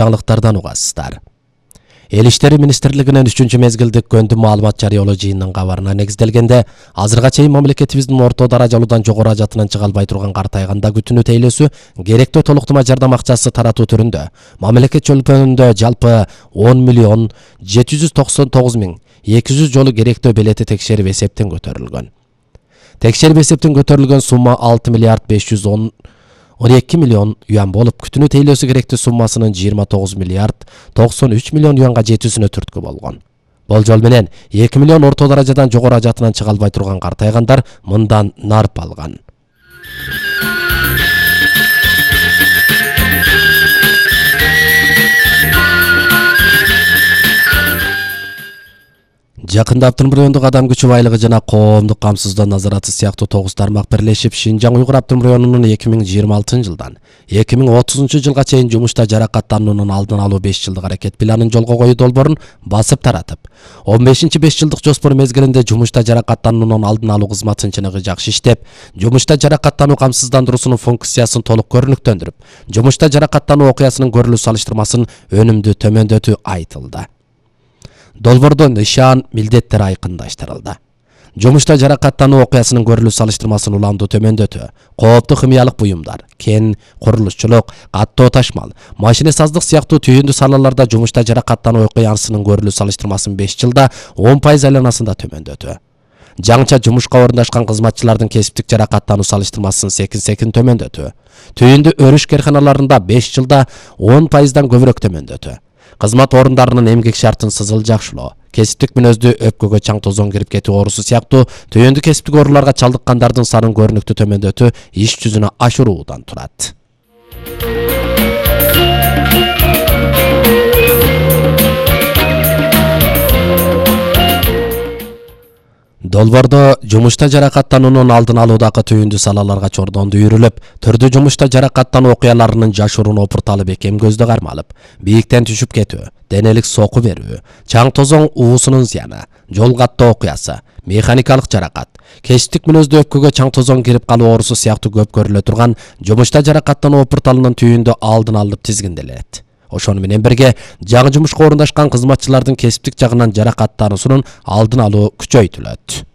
жаңылыктардан угасыздар. Эл иштери министрлигинин 3-чү мезгилдик көндү маалымат жарыялоо жыйынынын кабарына негизделгенде, азырга чейин мамлекетибиздин орто даражалуудан жогору ажатынан чыга албай турган картайганда күтүүнү тейлөөсү керектүү толуктама жардам акчасы таратуу түрүндө мамлекет чөлкөнүндө жалпы 10.799.200 жолу керектүү белети текшерип эсептен көтөрүлгөн. Текшерип эсептен көтөрүлгөн сумма 6.512.000.000 юан болуп, күтүүнү тейлөөсү керектүү суммасынын 29.93 миллион юанга жетүүсүнө түрткү болгон. Болжол менен 2 миллион орто даражадан жогору ажатынан чыга албай турган картайгандар мындан нарп алган. Жакында Автономдук райондук адам күчү байлыгы жана коомдук камсыздоо назараты сыяктуу 9 тармак бирлешип Шинжаң Уйгур Автономдук районунун 2026 жылдан 2030 жылга чейин жумушта жаракаттануунун алдын алуу 5 жылдык аракет планын жолго коюу долбоорун басып таратып, 15-5 жылдык жоспор мезгилинде жумушта жаракаттануунун алдын алуу кызматын чыныгы жакшы иштеп, жумушта жаракаттануу камсыздандыруусунун функциясын толук көрүнүктөндүрүп, жумушта жаракаттануу окуясынын көрүлүү салыштырмасын өнүмдүү төмөндөтүү айтылды. Долбоордо нышан, милдеттер айкындаштырылды. Жумушта жаракаттануу окуясынын көрүлүү салыштырмасын уламдуу төмөндөтүү, кооптуу химиялык буюмдар, кен, курулушчулук, каттоо ташмал, машина саздык сыяктуу түйүндүү салаларда жумушта жаракаттануу окуясынын көрүлүү салыштырмасын 5 жылда 10% айланасында төмөндөтүү. Жаңча жумушка орундашкан кызматчылардын кесиптик жаракаттануу салыштырмасын секин төмөндөтүү. Түйүндүү өрүш керканаларында 5 жылда 10%дан көбүрөөк төмөндөтүү. Кызмат орундарынын эмгек шартын сызылжакшылоо, кесиптик мүнөздүү өпкөгө чаң тозоң кирип кетүү оорусу сыяктуу түйүндүү кесиптик ооруларга чалдыккандардын санын көрүнүктүү төмөндөтүү иш жүзүнө ашыруудан турат. Долбоордо жумушта жаракаттануунун алдын алуудагы түйүндүү салаларга чордондуу үйрүлүп, түрдүү жумушта жаракаттануу окуяларынын жашыруун опурталы бекем көздө кармалып, бийиктен түшүп кетүү, денелик соку берүү, чаң тозоң уусунун зыяны, жол каттоо окуясы, механикалык жаракат, кесиптик мүнөздүү өпкөгө чаң тозоң кирип калуу оорусу сыяктуу көп көрүлө турган жумушта жаракаттануу опурталынын түйүндө алдын алып тизгинделет. Ошону менен бирге жаңы жумушка орундашкан кызматчылардын кесиптик жагынан жаракаттануусунун алдын алуу күчөйтүлөт.